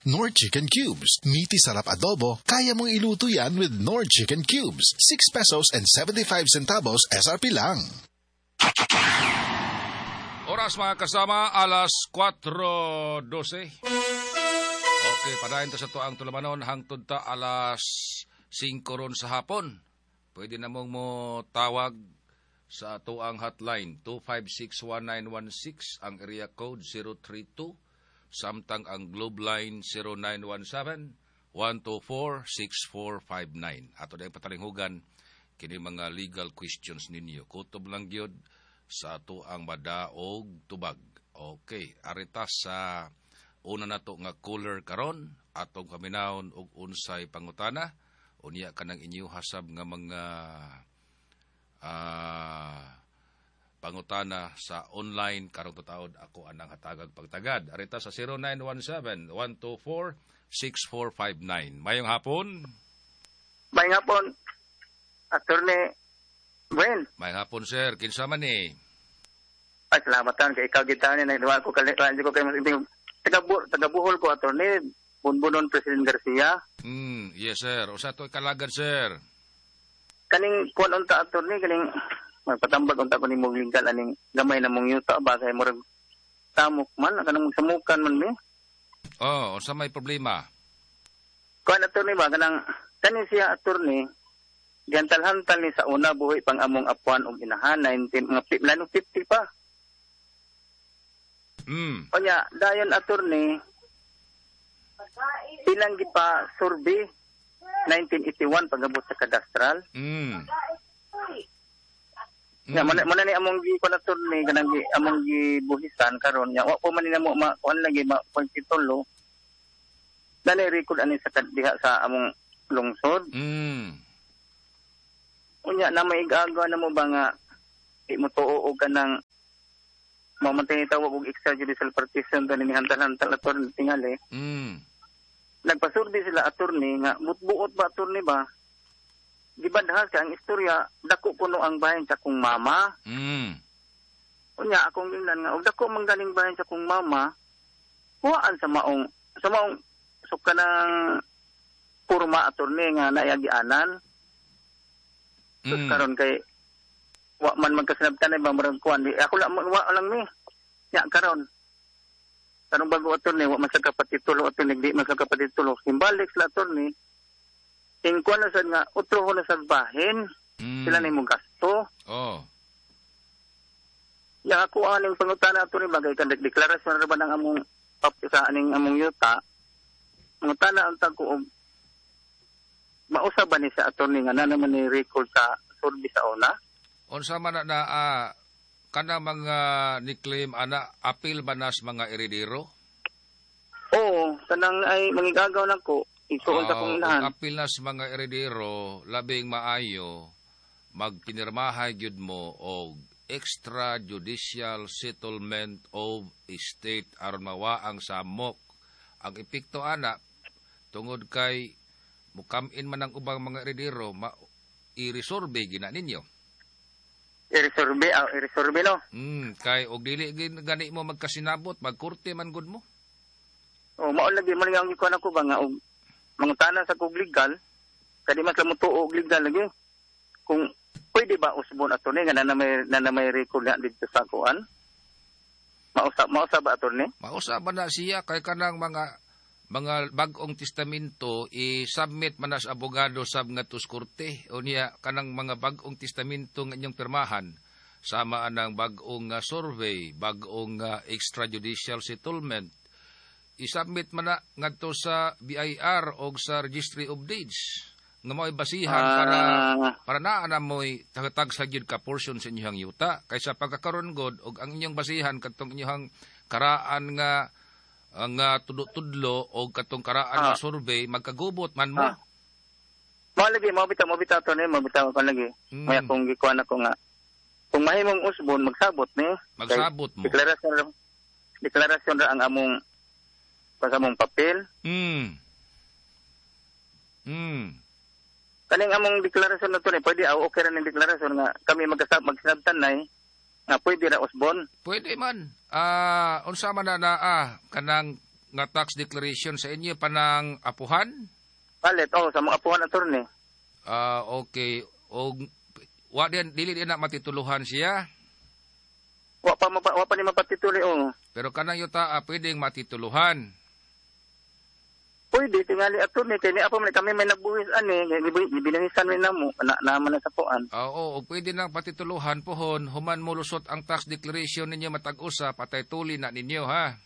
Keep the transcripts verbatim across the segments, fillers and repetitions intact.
Knorr Chicken Cubes. Meaty sarap adobo, kaya mong iluto yan with Knorr Chicken Cubes. six pesos and seventy-five centavos S R P lang. Oras, mga kasama, alas kwatro dose. Okay, padayon ta sa atoang tulumanon hangtod ta alas singko ron sa hapon. Pwede na mong mo tawag sa atoang hotline two five six one nine one six, ang area code zero three two, samtang ang Globe line zero nine one seven, one two four, six four five nine. Ato na patalinghugan kini mga legal questions ninyo. Kutob lang gyud sa atoang madaog tubag. Okay, arita sa una nato nga caller karon, atong paminawon og unsay pangutana. Unya kanang inyo hasab nga mga ah, pangutana sa online karong tutaod, ako anang hatagag pagtagad. Arita sa zero nine one seven, one two four, six four five nine. Mayong hapon. May hapon, Attorney Gwen. Mayong hapon, sir. Kinsa man ni? Ay, salamat tan kay ikaw gid tani nagduwa ko kali ko kay mas taga taga Bohol ko, Attorney Bunbunon President Garcia. Mm, yes sir. Usa to kalagan, sir? Kaning kuan unta, Attorney, kaning magpatambag unta ko nimo legal aning gamay na mong yuta ba kay murag tamok man kanang samukan man mi. Oh, unsa may problema? Kuan, Attorney, ba kanang kaning siya, Attorney, gihantal-hantal ni sa una buhi pang among apuan og inahan nineteen mga fifty pa. Mm. Onya, dayon, Attorney, ilang gipa survey nineteen eighty-one pagabot sa kadastral. Mm. Nya mm. Muna ni among gi kuan, Attorney, kanang gi among gibuhisan karon nya wa po man ni namo ma kuan lagi ma titulo. Dali record ani sa diha sa among lungsod. Mm. Unya na may igagawa na mo ba nga di mo tuo og kanang mao man tawag og extrajudicial partition to ni hantal-hantal, Attorney, tingali. Mm. Nagpasurvey sila, Attorney, nga buot ba, Attorney, ba? Gibadhas ka ang istorya, dako kuno ang bahin sa kong mama. Mm. Unya akong ingnan nga og dako man galing bahin sa kong mama, kuhaan sa maong sa maong so kanang porma, Attorney, nga naagianan. Mm. Karon kay wa man magkasinabtan ba murag kuan di ako lang wa lang ni. Nya karon karon bago, Attorney, wa man sa kapatitulo, Attorney, di man sa kapatitulo. Simbalik sila, Attorney. Ingkuan na sad nga utro na sad bahin. Mm. Sila na imong gasto. Oh. Ya ako aning pangutana, Attorney, bagay kan deklarasyon ra ba ng among sa aning among yuta. Mangutana ang tag ko og mausa ba ni sa, Attorney, nga na naman ni record sa survey sa una? Unsa man na na uh, kana mga ni-claim ana, apil ba nas mga eredero? Oo, kanang ay mangigagaw nako isuon sa kong inahan. Apil nas mga eredero, labing maayo magpinirmahay gyud mo og extrajudicial settlement of estate aron mawa ang samok. Ang epekto ana, tungod kay mukamin man ang ubang mga eredero, ma i-resurvey gina ninyo. I-resurvey, ah, i-resurvey no. Mm, kay og dili gin gani mo magkasinabot, magkorte man gud mo. Oh, mao lagi man ang gikuan ako ba nga og mangutana sa kog legal kadi mas mo tuo og legal lagi. Kung pwede ba usbon, Attorney, nga na na may na, na may record na dito sa kuan? Mausa mausa ba, Attorney? Mausa ba na siya kay kanang mga mga bag-ong testamento i-submit man na sa abogado sab nga sa korte. Unya kanang mga bag-ong testamento nga inyong pirmahan sama anang bag-ong uh, survey, bag-ong uh, extrajudicial settlement, i-submit man na ngadto sa B I R o sa Registry of Deeds nga mao'y basihan Ah. para para naa na mo'y tagatag sa gyud ka portion sa inyong yuta kaysa pagkakaron god og ang inyong basihan kadtong inyong karaan nga nga tudlo-tudlo o katong karaan Ah. nga survey, magkagubot man mo. Ah. Mao lagi, mao bitaw, mao bitaw to ni, mao bitaw ko lagi. Mm. May akong gikuan ako nga kung mahimong usbon magsabot ni. Magsabot mo. Deklarasyon ra deklarasyon ra ang among sa among papel. Mm. Mm. Kaning among deklarasyon na to ni, pwede aw okay ra ning deklarasyon nga kami magkasab magsinabtan nay nga pwede ra usbon? Pwede man. Ah, unsa man na na ah, kanang nga tax declaration sa inyo panang apuhan? Palit, oh, sa mga apuhan, attorney. Ah, okay. Og wa din dili din na matituluhan siya. Wa pa mapa, wa pa ni mapatituli, oh. Pero kanang yuta ah, pwedeng matituluhan. Pwede tingali, attorney, kay ni apo man kami may nagbuhis ani, gibinuhisan mi namo, na naman na sa kuan. Oo, og pwede nang patituluhan pohon human mo lusot ang tax declaration ninyo matag usa, patay tuli na ninyo, ha.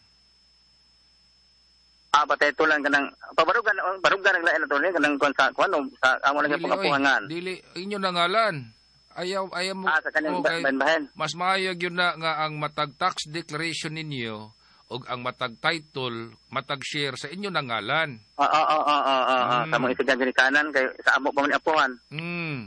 Ah, patay tulan kanang pabarugan barugan ang lain, attorney, kanang kuan sa kuan o sa amo lang Dili, oy, pangapuhangan. Dili inyo na ngalan. Ayaw ayaw mo Ah, sa kanang okay. bahin-bahin. Mas maayo gyud na nga ang matag tax declaration ninyo og ang matag title, matag share sa inyo na ngalan. Oo, oo, oo, oo, oo. Mm. Sa mga isigan ginikanan kay sa amo pa man ni apuhan. Mm.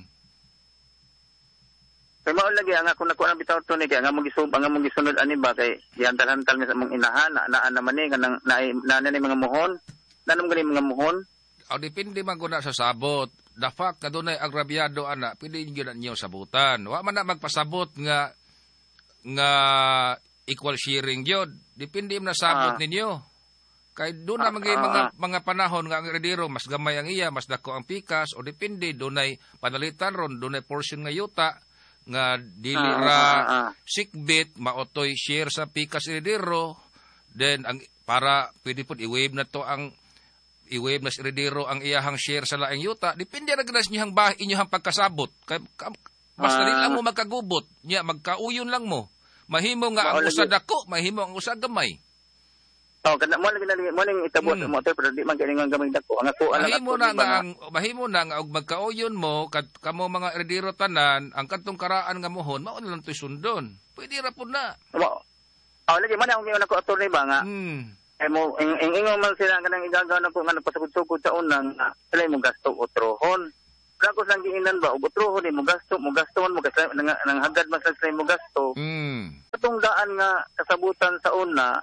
Kay mao lagi ang ako nakuha ng bitaw to ni kay ang among gisub ang among gisunod ani ba kay gihantal-hantal mi sa among inahan na naa naman ni kanang na, na, na, ni mga muhon. Nanom gani mga muhon. O depende man guna sa sabot. The fact na dunay agrabyado ana, pwede gyud na ninyo sabutan. Wa man na magpasabot nga nga equal sharing gyud. Depende man na sabot Ah. ninyo. Kay doon na Ah, mga ah, mga ah. mga panahon nga ang heredero mas gamay ang iya, mas dako ang pikas o depende dunay panalitan ron, dunay portion nga yuta nga dili Ah, ra ah, ah, ah. sikbit maotoy share sa pikas heredero. Then ang para pwede pud i-waive na to ang i-waive na sa heredero ang iyahang share sa laing yuta. Depende ra gyud sa inyong bah inyong pagkasabot kay ka- basta Ah. dili lang mo magkagubot nya, magkauyon lang mo, mahimo nga ang Mao lagi. usa dako, mahimo ang usa gamay. Oh, kana mo lagi na mo ning itabot Mm. mo pero di man kay nga gamay dako. Ang ako alang Mahimo na nga ang mahimo na nga og magkauyon mo kad kamo mga heredero tanan ang kadtong karaan nga mohon mao na lang to'y sundon, pwede ra pud na. Mo. Oh, lagi man akong giuna ko, attorney ba nga. mm. Ay mo ing ing ingon man sila kanang igagaw na ko nga nagpasugod-sugod sa unang nga sila mo gasto otrohon. Pero ako lang giinan ba og otrohon ni mo gasto, mo gasto man mo kasi nang, nang hagad man sila mo gasto. Mm. Atong daan nga kasabutan sa una,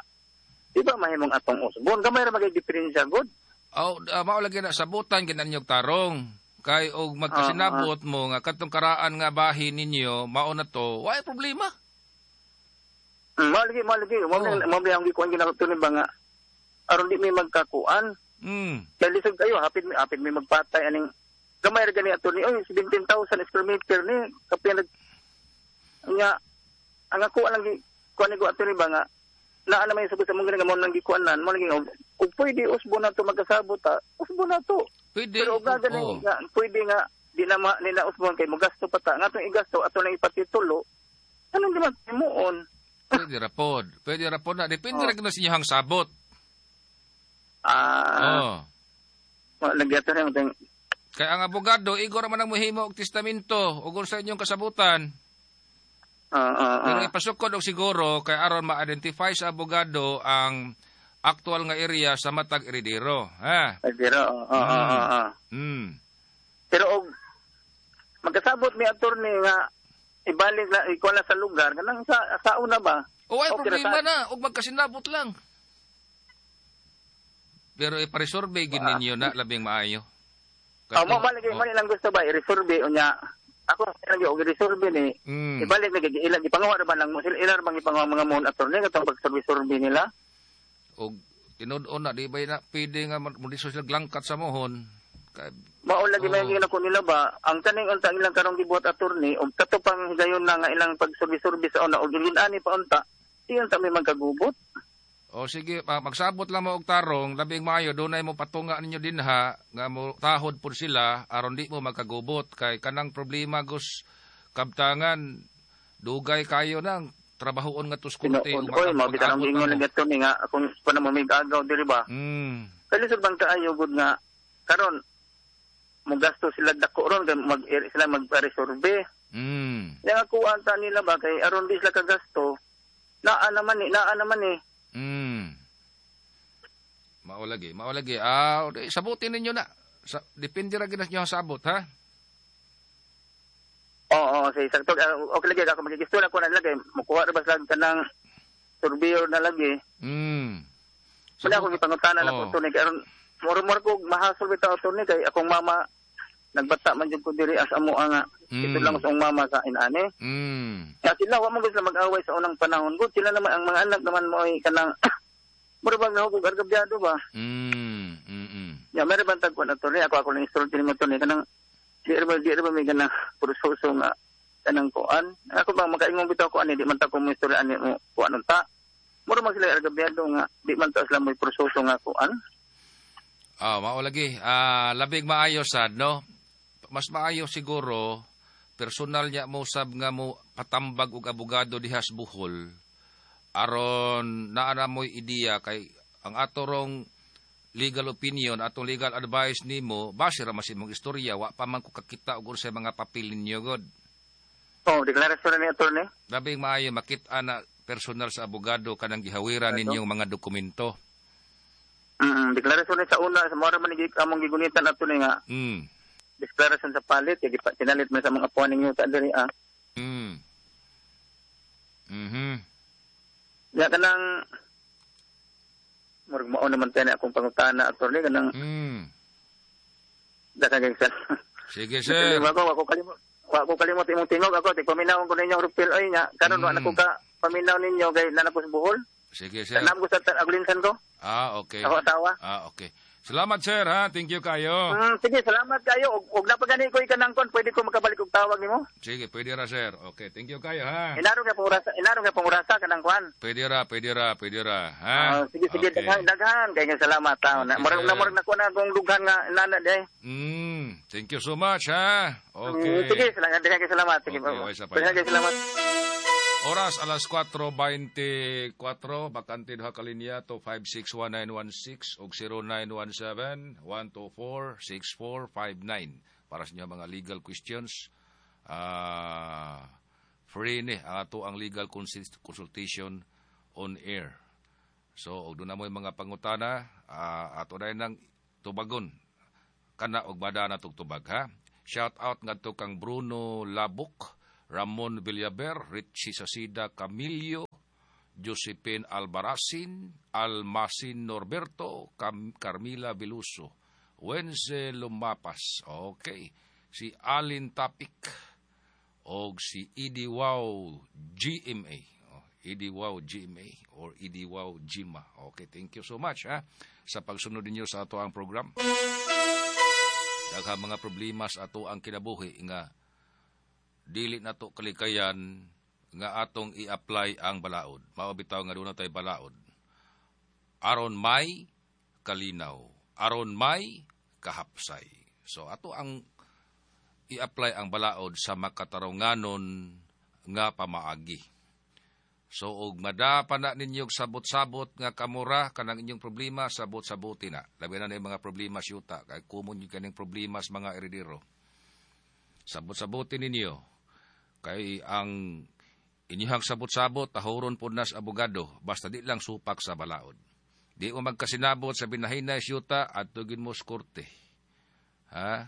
di ba mahimong atong usbon? Gamay ra magay diferensya gud. Aw, uh, mao lagi na sabutan ginan ninyog tarong. Kay og magkasinabot mo nga kadtong karaan nga bahin ninyo mao na to, way problema. Mm, mao lagi, mao lagi, mao Oh. lagi, mao lagi ang gikuan ginako ba nga aron di mi magkakuan. Mm. Kay lisod kayo, hapit mi hapit mi magpatay aning gamay ra gani ato ni oy seventeen thousand square meter ni kapin nag nga ang ako lang gi kuan ni ko ato ni ba nga naa naman yung sagot sa mong gani nga mo nang gikuanan mo lagi nga og pwede usbo na to magkasabot ta, usbo na to. Pwede. Pero og gani Oh. nga pwede nga di na ma, ni na usbon kay mogasto pa ta nga atong igasto ato lang ipatitulo, anong di man himuon? Pwede ra pod. Pwede ra pod na depende Oh. ra gyud sa inyong sabot. Ah, Oh. lagi ato ni mo. Kay ang abogado igor man ang mohimo og testamento ug sa inyong kasabutan. Ah ah Pero ah. ipasukod og siguro kay aron ma-identify sa abogado ang actual nga area sa matag eredero. Ha? Ay, pero ah ah ah, ah, ah. Mm. Pero og magkasabot mi attorney nga ibalik na ikuan na sa lugar kanang sa sa una ba? O ay Okay, problema sa- na og magkasinabot lang. Pero ipa-resurvey gid Ah. ninyo na labing maayo. Oh, mo malagi Oh. mo lang gusto ba i-resurvey unya. Ako lagi og i-resurvey ni Mm. ibalik na gid ilang ipanguha ra ba lang mo sila ilang bang ipanguha mga mon attorney katong pag-survey-survey nila? Og tinud-on na di ba na pwede nga mo di sila glangkat sa mohon. Kay Mao lagi Oh. may gina ko nila ba ang kaning unta ang ilang karong gibuhat attorney og kato pang higayon na nga ilang pag-survey-survey sa una og gilin-ani pa unta di unta may magkagubot. O sige, pa- magsabot lang mo og tarong, labing maayo dunay mo patunga ninyo dinha nga mo tahod pud sila aron di mo magkagubot kay kanang problema gus kabtangan dugay kayo nang trabahoon nga tuskunti Tinuod oy mao bitan ang ingon lagi attorney nga akong pa na mo mig-agaw diri ba. Mm. Kalisod bang kaayo gud nga karon mo gasto sila dako ron kay mag sila magpa-resurvey. Mm. Yang ako anta nila ba kay aron di sila kagasto. Naa naman ni, naa naman ni. Mm. Mao lagi, mao lagi. Ah, di, sabutin ninyo na. Sa, depende ra gid na sa inyong sabot, ha? Oo, oo, say sakto ah, okay lagi ako magigisto na ko na lagi mukuha ra ba sila kanang surveyor na lagi. Mm. Wala akong gipangutana na Oo. ko to ni kay aron muro-muro ko mahasol bitaw to ni kay akong mama nagbata man jud ko diri as amo nga Mm. ito lang sa akong mama sa inani. Mm. Kaya sila wa mo gusto mag-away sa unang panahon gud sila naman ang mga anak naman mo ay kanang Mura bang nahugog argabyado ba? Mm, mm, mm. Ya, meron bang tagpuan, attorney? Ako ako lang istorya ni mo, attorney. Kanang, di ba, di ba may ganang proseso nga kanang kuan? Ako bang makaingong bitaw ko ani, di man ta ko mo istorya ani mo kuan unta. Mura man sila argabyado nga di man ta sila mo proseso nga kuan. Ah, mao lagi. Ah, labig maayo sad, no? Mas maayo siguro personal niya mo sab nga mo patambag og abogado diha sa Bohol aron naa na mo'y ideya kay ang atorong legal opinion, atong legal advice nimo base ra man sa imong istorya, wa pa man ko kakita og unsay mga papel ninyo god. Oh, deklarasyon ni attorney. Labing maayo makita na personal sa abogado kanang gihawiran Ano? ninyong mga dokumento. Mm, deklarasyon ni sa una sa mora man ni among gigunitan attorney nga Mm. deklarasyon sa palit kay gipa tinalit man sa mga apuan ninyo ta diri ah. Mm. Mhm. Ya kanang murag mao naman tayo na akong pangutana, attorney, kanang Mm. daghang sir. Sige, sir. Wa ko wa ko kalimot wa ko kalimot imong tingog ako ti paminawon ko ninyo rupil oy nya karon wa na ko Mm. ka paminaw ninyo kay naa ko sa Bohol. Sige, sir. Tanam ko sa aglinsan ko. Ah, okay. Ako asawa. Ah, okay. Salamat, sir, ha. Thank you kayo. Mm, sige, salamat kayo. Og, og napagani ko ikanang kon, pwede ko makabalik og tawag nimo. Sige, pwede ra, sir. Okay, thank you kayo, ha. Inarong ka pangurasa, inarong ka pangurasa kanang kuan. Pwede ra, pwede ra, pwede ra, ha. Ah, sige, sige, Okay. daghan, daghan kay nga salamat ta. Okay, Na, murag sir. na murag na ko na akong dughan nga nana day. Mm, thank you so much, ha. Okay. Mm, sige, salamat, daghan kay salamat. Sige, Okay, okay, sa pa. daghan kay salamat. Oras alas kwatro beinte kwatro, bakante duha ka linya to five six one nine one six og zero nine one seven, one two four, six four five nine para sa inyo mga legal questions. Ah, free ni ang ato ang legal consul- consultation on air. So, og duna mo'y mga pangutana, ah, ato na nang tubagon kana og bada na tugtubag, ha. Shout out ngadto kang Bruno Labuk, Ramon Villaber, Richie Sasida Camillo, Josephine Albaracin, Almasin Norberto, Cam- Carmila Veluso, Wenze Lumapas. Okay. Si Alin Tapik og si Idi Wow G M A. Oh, Idi Wow G M A or Idi Wow Gima. Okay, thank you so much ha sa pagsunod ninyo sa ato ang program. Daghang mga problema sa ato ang kinabuhi nga dili nato kalikayan nga atong i-apply ang balaod. Mao bitaw nga duna tay balaod. Aron may kalinaw, aron may kahapsay. So ato ang i-apply ang balaod sa makatarunganon nga pamaagi. So og madapa na ninyo og sabot-sabot nga kamura kanang inyong problema, sabot-sabuti na. Labi na na yung mga problema sa yuta kay common yung kaning problema sa mga eredero. Sabot-sabuti ninyo kay ang inyong sabot-sabot tahuron pod nas abogado basta di lang supak sa balaod. Di mo magkasinabot sa binahinay sa yuta at tugin mo sa korte. Ha?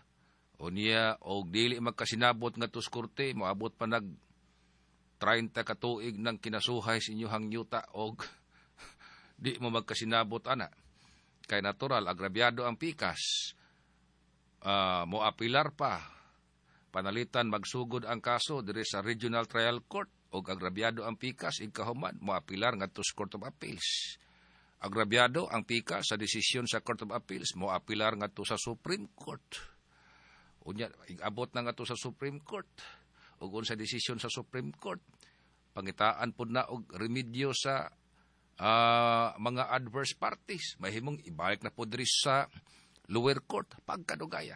Unya og dili magkasinabot ngadto sa korte, moabot pa nag traynta ka tuig ng kinasuhay sa inyong yuta og di mo magkasinabot ana. Kay natural, agrabyado ang pikas. Uh, mo apilar pa. Panalitan magsugod ang kaso diri sa Regional Trial Court og agrabyado ang pikas igkahuman mo apilar ngadto sa Court of Appeals. Agrabyado ang pikas sa desisyon sa Court of Appeals, mo apilar ngadto sa Supreme Court. Unya igabot na ngadto sa Supreme Court ug unsa desisyon sa Supreme Court, pangitaan pud na og remedyo sa uh, mga adverse parties, mahimong ibalik na pud diri sa lower court pagkadugaya.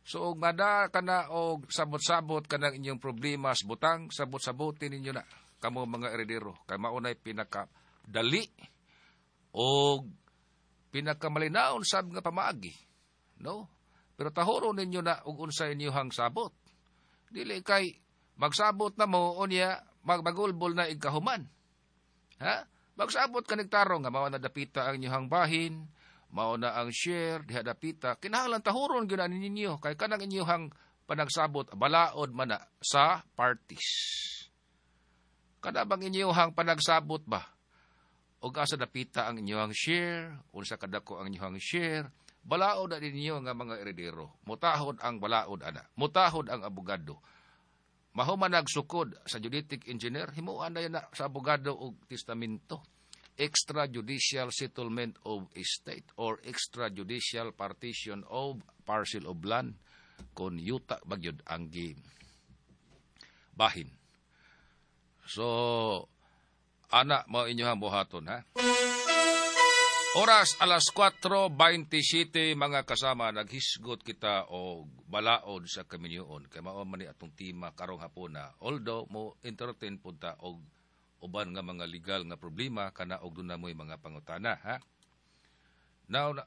So og mada kana og sabot-sabot kanang inyong problema sa butang, sabot-sabotin ninyo na kamo mga eredero kay mao nay pinaka dali og pinakamalinaon sab nga pamaagi, no? Pero tahuro ninyo na og unsa inyong sabot. Dili kay magsabot na mo unya magbagulbol na igkahuman. Ha? Magsabot ka nagtarong nga mao na dapita ang inyong bahin, mao na ang share diha dapita. Kinahanglan tahuron gyud ani ninyo kay kanang inyong panagsabot balaod man na sa parties. Kada bang inyong panagsabot ba? Og asa dapita ang inyong share, unsa kadako ang inyong share, balaod na ninyo nga mga eredero. Mutahod ang balaod ana. Mutahod ang abogado. Mahuman nagsukod sa geodetic engineer, himuan na yan na sa abogado og testamento. Extrajudicial settlement of estate or extrajudicial partition of parcel of land kung yuta bagyod ang gi bahin. So, ana mao inyohang buhaton, ha. Oras alas kwatro beinte siyete, mga kasama, naghisgot kita og balaod sa kaminyoon kay mao man ni atong tema karong hapuna. Although mo entertain pud ta og uban nga mga legal nga problema kana og duna mo'y mga pangutana, ha. Now na,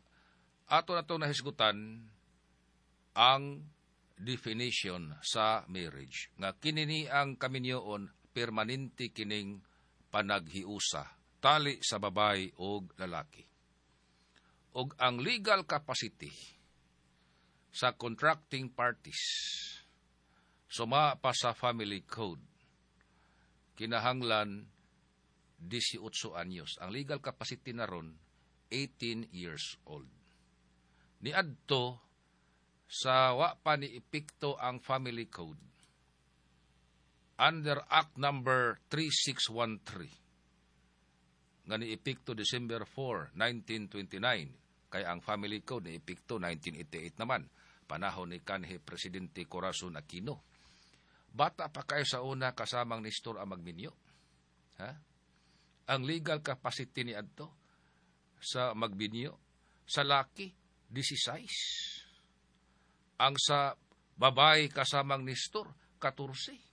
ato na itong nahisgutan ang definition sa marriage nga kini ni ang kaminyoon, permanente kining panaghiusa, tali sa babae og lalaki, og ang legal capacity sa contracting parties, suma pa sa Family Code, kinahanglan eighteen anyos. Ang legal capacity na ron, eighteen years old. Niadto sa wa pa ni epekto ang Family Code under Act Number three six one three nga ni epekto December four, nineteen twenty-nine, kay ang Family Code ni epekto nineteen eighty-eight naman, panahon ni kanhi Presidente Corazon Aquino. Bata pa kayo sa una, kasamang Nestor, ang magminyo, ha. Ang legal capacity ni adto sa magbinyo, sa laki sixteen, ang sa babae, kasamang Nestor, fourteen.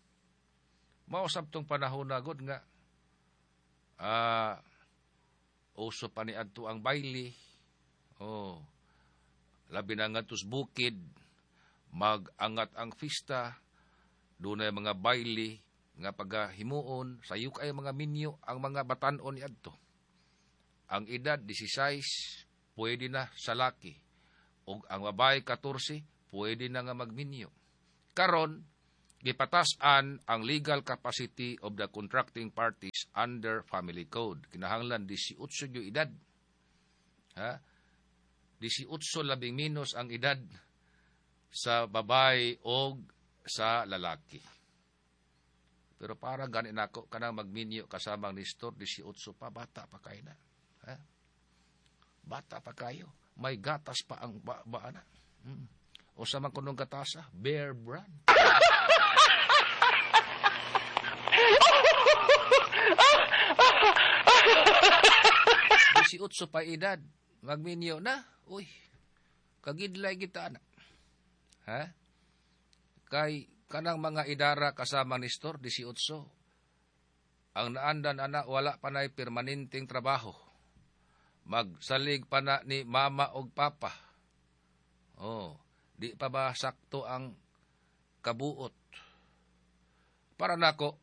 Mao sabtong panahon na gud nga ah uso pa ni adto ang baile. Oh. Labi na ngadto sa bukid, mag-angat ang fista, dunay mga baile nga pagahimuon, sayo kay mga minyo ang mga batan-on ni adto. Ang edad sixteen, pwede na sa laki. Ug ang babae fourteen, pwede na nga magminyo. Karon, gipatas-an ang legal capacity of the contracting parties under Family Code. Kinahanglan eighteen yung edad. Ha? eighteen labing minus ang edad sa babae o sa lalaki. Pero para gani nako kanang magminyo, kasamang Nestor, eighteen pa, bata pa kayo na. Ha? Bata pa kayo. May gatas pa ang ba, ba na. Hmm. O sa man kunong gatasa, Bear Brand. eighteen pa edad, magminyo na. Uy, kagidlay kita na. Ha? Kay kanang mga idara, kasama Nestor, eighteen, ang naandan ana wala pa na'y permanenteng trabaho. Magsalig pa na ni mama og papa. Oh, di pa ba sakto ang kabuot? Para nako,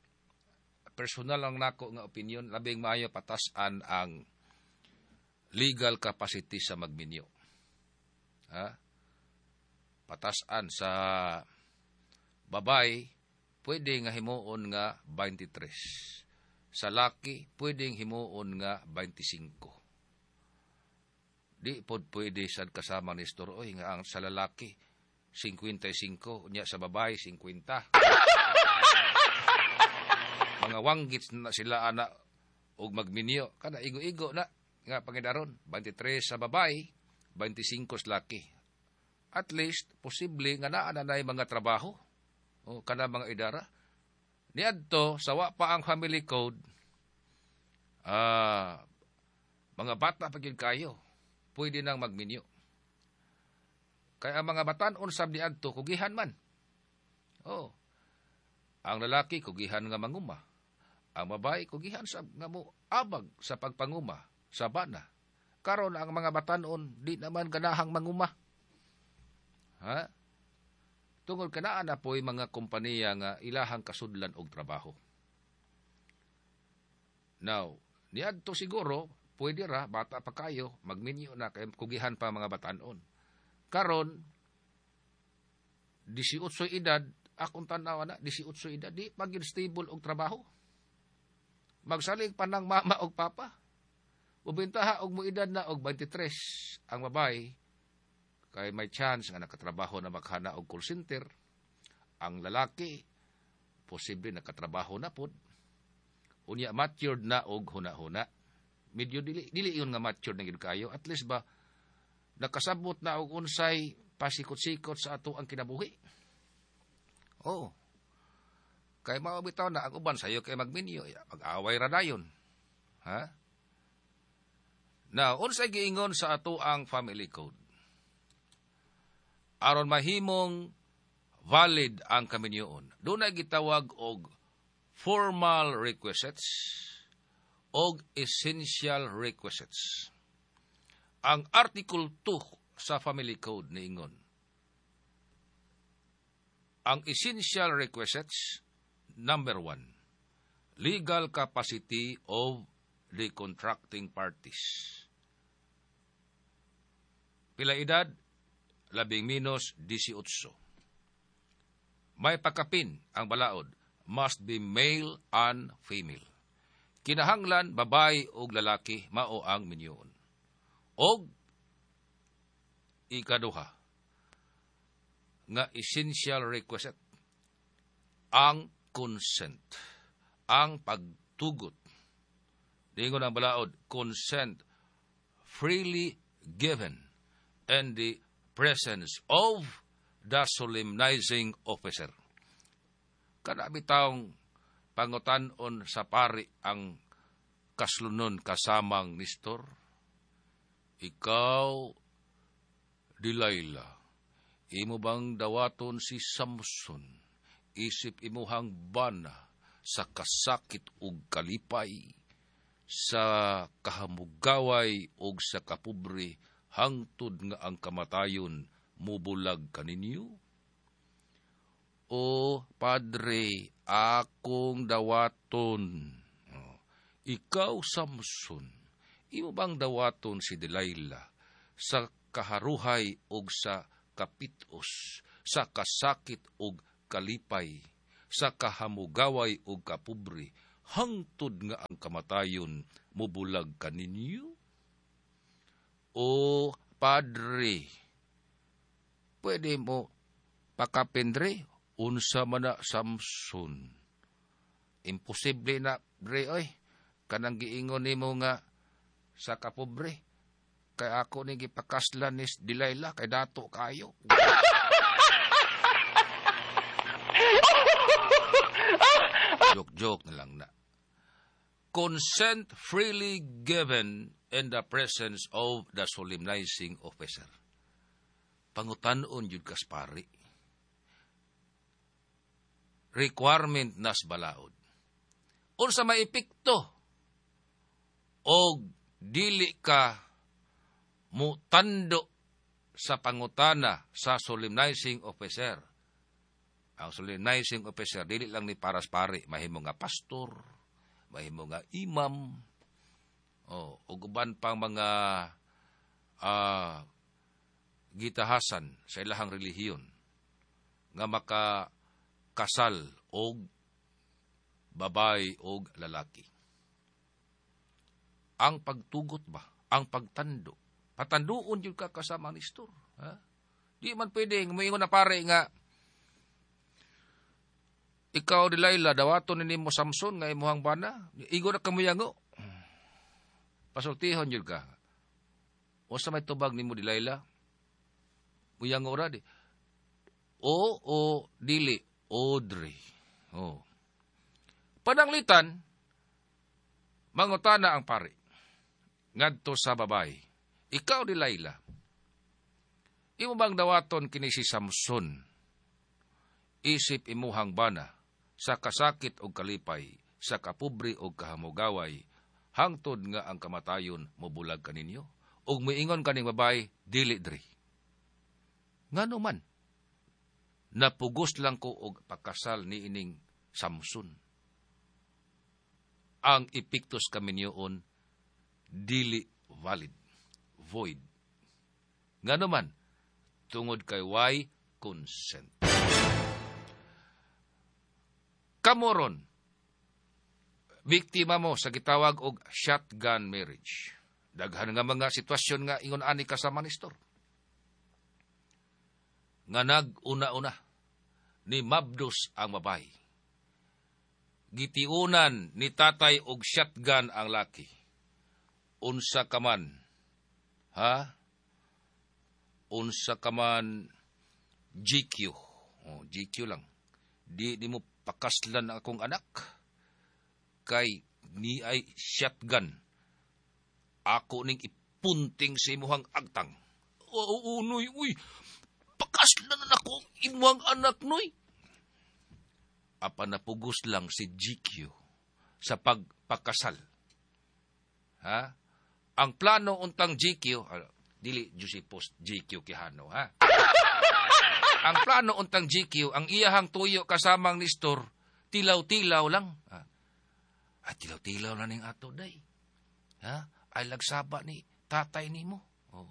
personal lang nako nga opinion, labing maayo patasan ang legal capacity sa magminyo. Ha? Patasan sa babae, pwede nga himuon nga twenty-three. Sa laki, pwedeng himuon nga twenty-five. Di pod pwede sad, kasama ni Nestor, oy, nga ang sa lalaki fifty-five, nya sa babae fifty. Mga wanggits na sila ana og magminyo kana igo-igo na nga pangidaron, twenty-three sa babae, twenty-five sa laki. At least posible nga naa na nay mga trabaho o kana mga idara. Niadto sa wa pa ang Family Code, ah mga bata pa gyud kayo, pwede nang magminyo. Kaya ang mga batan-on sab niadto kugihan man. Oh. Ang lalaki kugihan nga manguma. Ang babae kugihan sab nga mo abag sa pagpanguma sa bana. Karon ang mga batan-on di naman ganahang manguma. Ha? Tungod kanaa na po'y mga kompanya nga ilahang kasudlan og trabaho. Now, niadto siguro, pwede ra, bata pa kayo, magminyo na, kay kugihan pa mga batanon. Karon, eighteen edad, akong tanawa na, eighteen edad, di pa gyud stable og trabaho. Magsalig pa ng mama og papa. Ubintaha og mo edad na og twenty-three ang babae, kay may chance nga nakatrabaho na maghana og call center. Ang lalaki, posible nakatrabaho na pod. Unya matured na og huna-huna. Medyo dili dili yun nga mature na gyud kayo. At least ba nakasabot na og unsay pasikot-sikot sa ato ang kinabuhi. Oo. Kay mao bitaw na ang uban sayo kay magminyo, ya, mag-away ra dayon. Ha? Now, unsay giingon sa ato ang family code? Aron mahimong valid ang kaminyoon, dunay gitawag og formal requisites og essential requisites. Ang Article two sa Family Code niingon, ang essential requisites, number one, legal capacity of the contracting parties. Pila edad? Labing minus eighteen. May pakapin ang balaod, must be male and female. Kinahanglan babae og lalaki mao ang minyoon. Og ikaduha nga essential requisite, ang consent, ang pagtugot. Dingon ang balaod, consent freely given in the presence of the solemnizing officer. Kana bitawng pangutan-on sa pari ang kaslunon kasamang Nestor. Ikaw, Delilah, imo bang dawaton si Samson, isip imuhang bana sa kasakit ug kalipay, sa kahamugaway ug sa kapobre, hangtod nga ang kamatayon mubulag kaninyo? O padre, akong dawaton. Oh, ikaw, Samson, imo bang dawaton si Delilah sa kaharuhay og sa kapitos, sa kasakit og kalipay, sa kahamugaway og kapobre, hangtod nga ang kamatayon mubulag kaninyo? O padre, pwede mo pakapendre, unsa man na, Samson? Imposible na, dre, oy. Kanang giingon nimo nga sa kapobre. Kay ako ni gipakaslan ni Delilah, kay dato kayo. Joke-joke na lang na. Consent freely given in the presence of the solemnizing officer. Pangutan-on yun kas pari. Requirement nas balaod. Unsa may epekto og dili ka mutando sa pangutana sa solemnizing officer? Ang solemnizing officer dili lang ni paras pari, mahimo nga pastor, mahimo nga imam, oh, ug uban pang mga uh, gitahasan sa ilahang relihiyon nga makakasal og babae og lalaki. Ang pagtugot ba? Ang pagtando. Patanduon yun ka kasama ni Nestor. Ha? Di man pwede, muingon na pare nga, ikaw, Delilah, dawaton ni mo Samson nga imuhang bana. Igo na kamuyango. Pasultihon yun ka. O sa may tubag nimo, Delilah? Muyango ra di. O o dili, Audrey. O. Pananglitan, mangutana ang pari ngadto sa babae. Ikaw, Delilah, imo bang dawaton kini si Samson, isip imuhang bana, sa kasakit og kalipay, sa kapobre og kahamugaway, hangtod nga ang kamatayon mobulag kaninyo? Og miingon kaning babae, dili dri. Ngano man, napugos lang ko og pakasal ni ining Samson. Ang epektos kaminyoon, dili valid, void. Ngano man, tungod kay why consent. Kamoron, biktima mo sa gitawag og shotgun marriage. Daghan nga mga sitwasyon nga ingon ani kasama ni Nestor. Nga nag-una-una ni mabdos ang babae. Gitiunan ni tatay og shotgun ang laki. Unsa ka man? Ha? Unsa ka man G Q? Oh, G Q lang. Di nimo pakaslan ang akong anak kay ni ay shotgun. Ako ning ipunting sa imuhang agtang. Oo, oh, noy, uy. Pakaslan na ako imuhang anak, noy. Apan napugos lang si G Q sa pagpakasal. Ha? Ang plano untang G Q, uh, dili Josepos G Q Quijano, ha? Ang plano untang G Q, ang iyahang tuyo kasamang Nestor, tilaw-tilaw lang. Ha? Ay, tilaw-tilaw na ning ato, day. Ha? Ay, lagsaba ni tatay nimo. Oh.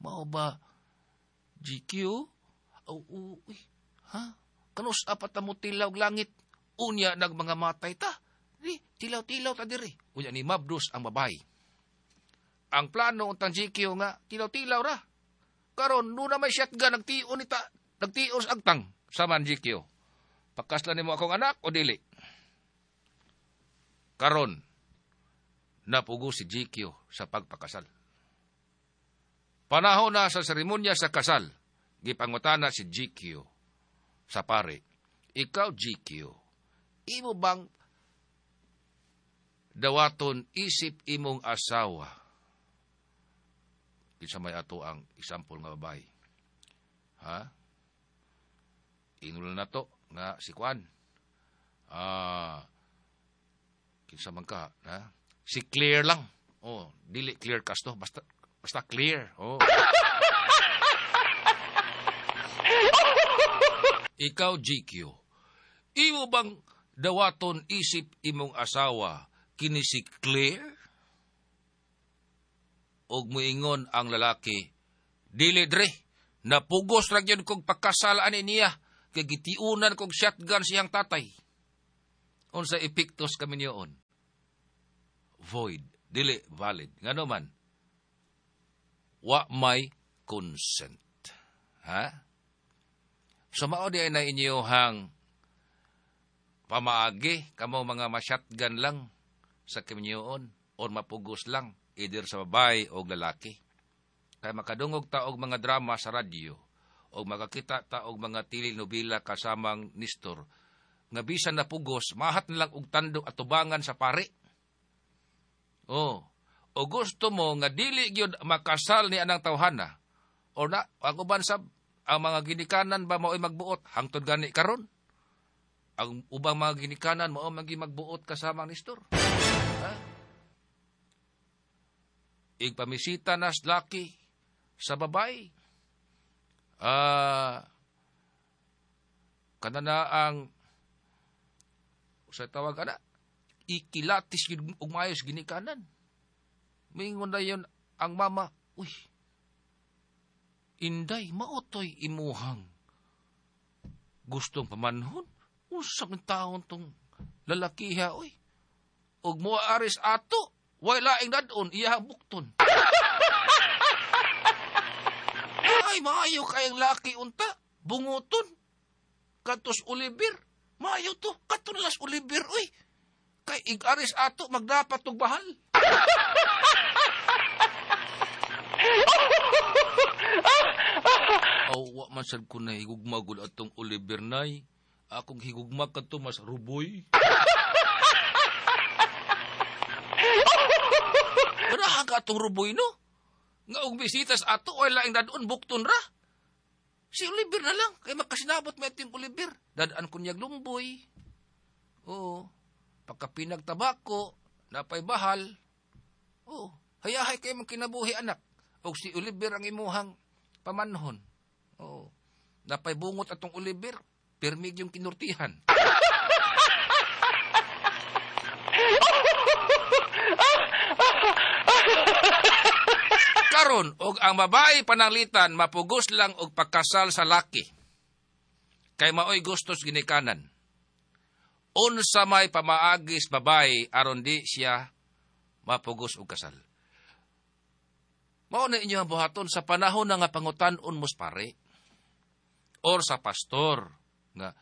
Mao ba, G Q? Oh, oh, uy, ha? Kanus apat na mo tilaw langit. Unya nagmanga matay ta. Di, tilaw-tilaw ta diri. Unya ni Mabdos ang babae. Ang plano untang G Q nga, tilaw-tilaw ra. Karon, nuna may shotgun, nagtion ni ta, nagtion sa agtang. Saman G Q. Pakaslan nimo akong anak o dili? Karon, napugo si G Q sa pagpakasal. Panahon na sa seremonya sa kasal, gipangutana si G Q sa pare. Ikaw, G Q, imo bang dawaton isip imong asawa? Kinsa may ato ang example nga babae? Ha? Inulan na to nga si Kwan. Ah, kinsa man ka, ha? Si Clear lang. Oh, dili clear kasto, basta basta clear. Oh. Ikaw, G Q, imo bang dawaton isip imong asawa kini si Clear? Og muingon ang lalaki, dili dre, napugos ra gyud kog pagkasal ani niya, kay gitiunan kog shotgun siyang tatay. Unsa epektos kami niyoon? Void, dili valid. Ngano man? Wa may consent. Ha? So mao di ay na inyohang pamaagi kamo mga ma-shotgun lang sa kaminyoon or mapugos lang either sa babae o lalaki. Kay makadungog ta og mga drama sa radyo o makakita ta og mga telenovela kasamang Nestor nga bisan napugos mahat na lang og tandok at tubangan sa pare. Oh, o gusto mo nga dili gyud makasal ni anang tawhana o na ang uban sa ang mga ginikanan ba mao'y magbuot hangtod gani karon? Ang ubang mga ginikanan mao magi magbuot kasamang Nestor. Ha? Igpamisita nas laki sa babae. Ah, kanana ang sa tawag ana ikilatis gyud og maayos ginikanan. Mingon na yon ang mama, uy, inday, maotoy imuhang gustong pamanhon. Usang taon tong lalakiha, uy. Og moaris ato, way laing dadon, iyahang bukton. Ay, maayo kayang laki unta, bunguton. Katos Oliver, maayo to, katulas Oliver, uy. Kay ig-aris ato, magdapat og bahal. Aw, wa man sad ko na higugma gud atong Oliver nay. Akong higugma kadto mas ruboy. Ganahan ka atong ruboy no? Nga og bisitas ato ay laing dadon bukton ra. Si Oliver na lang kay makasinabot may ating Oliver. Dadaan ko niyag lumboy. Oo. Pagkapinag tabako, napay bahal. Oo. Hayahay kay mong kinabuhi anak. Og si Oliver ang imuhang pamanhon. Oo. Napay bungot atong Oliver, pirmig yung kinurtihan. Karon og ang babae pananglitan mapugos lang og pagkasal sa laki. Kay maoy gustos ginikanan. Unsa may pamaagis babae aron di siya mapugos og kasal. Mao na inyo ang buhaton sa panahon na nga pangutan-on mos pare or sa pastor nga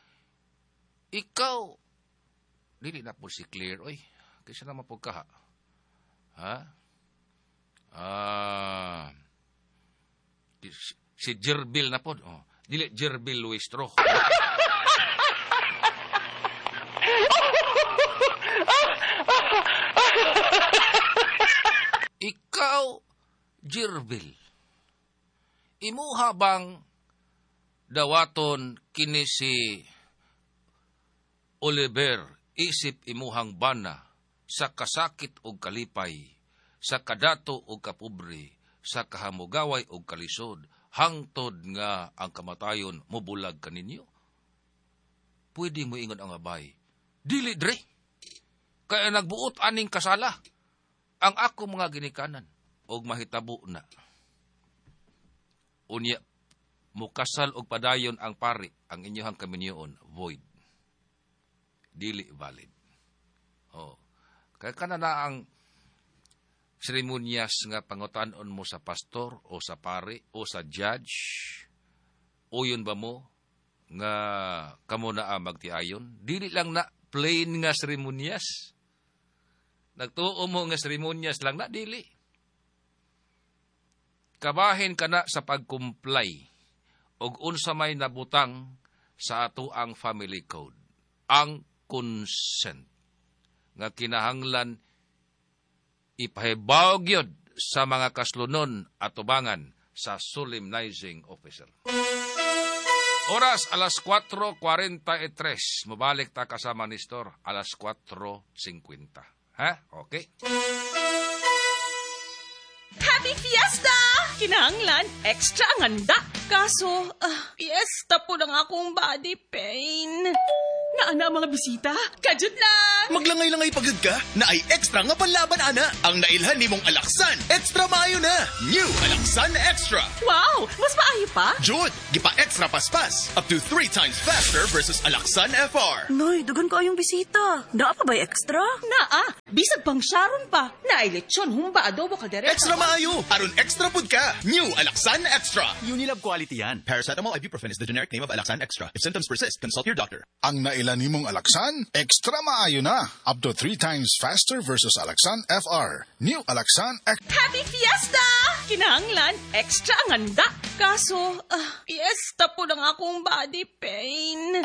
ikaw dili na po si Clear oy kaysa na mapugkaha. Ha? Ah, si Gerbil na pod. Oh, dili Gerbil Luistro. Ikaw, Gerbil, imuha bang dawaton kini si Oliver isip imuhang bana sa kasakit og kalipay, sa kadato og kapobre, sa kahamugaway og kalisod, hangtod nga ang kamatayon mobulag kaninyo? Pwede mo ingon ang abay, dili dre, kaya nagbuot aning kasala ang ako mga ginikanan, og mahitabo na. Unya, mukasal og padayon ang pari, ang inyohang kaminyoon, void. Dili valid. Oh. Kaya kana na ang seremonyas nga pangutanon mo sa pastor o sa pari o sa judge, uyon ba mo nga kamo na ang magtiayon? Dili lang na plain nga seremonyas. Nagtuo mo nga seremonyas lang na, dili. Kabahin ka na sa pag-comply og unsa may nabutang sa ato ang family code, ang consent nga kinahanglan ipahibaw gyud sa mga kaslunon at tubangan sa solemnizing officer. Oras alas kwatro kwarenta y tres. Mobalik ta kasama ni Nestor alas kwatro singkwenta. Ha? Okay. Happy Fiesta! Kinahanglan, extra ang handa. Kaso, uh, fiesta po lang akong body pain. Naana ang mga bisita? Kajut lang! Maglangay-langay pagod ka na ay extra nga panlaban, ana. Ang nailhan ni mong Alaxan, extra maayo na. New Alaxan Extra. Wow! Mas maayo pa? Jud, gipa-extra paspas. Up to three times faster versus Alaxan F R. Noy, dugan ko ayong bisita. Naa pa ba'y extra? Naa! Bisag pang Sharon pa. Naay lechon, humba, adobo, kaldereta. Extra maayo! Aron extra pud ka. New Alaxan Extra. Unilab quality yan. Paracetamol ibuprofen is the generic name of Alaxan Extra. If symptoms persist, consult your doctor. Ang nailan nimong Alaxan, extra maayo na. Up to three times faster versus Alaxan F R. New Alaxan X. Happy Fiesta! Kinahanglan, extra ang handa. Kaso, uh, fiesta po lang akong body pain.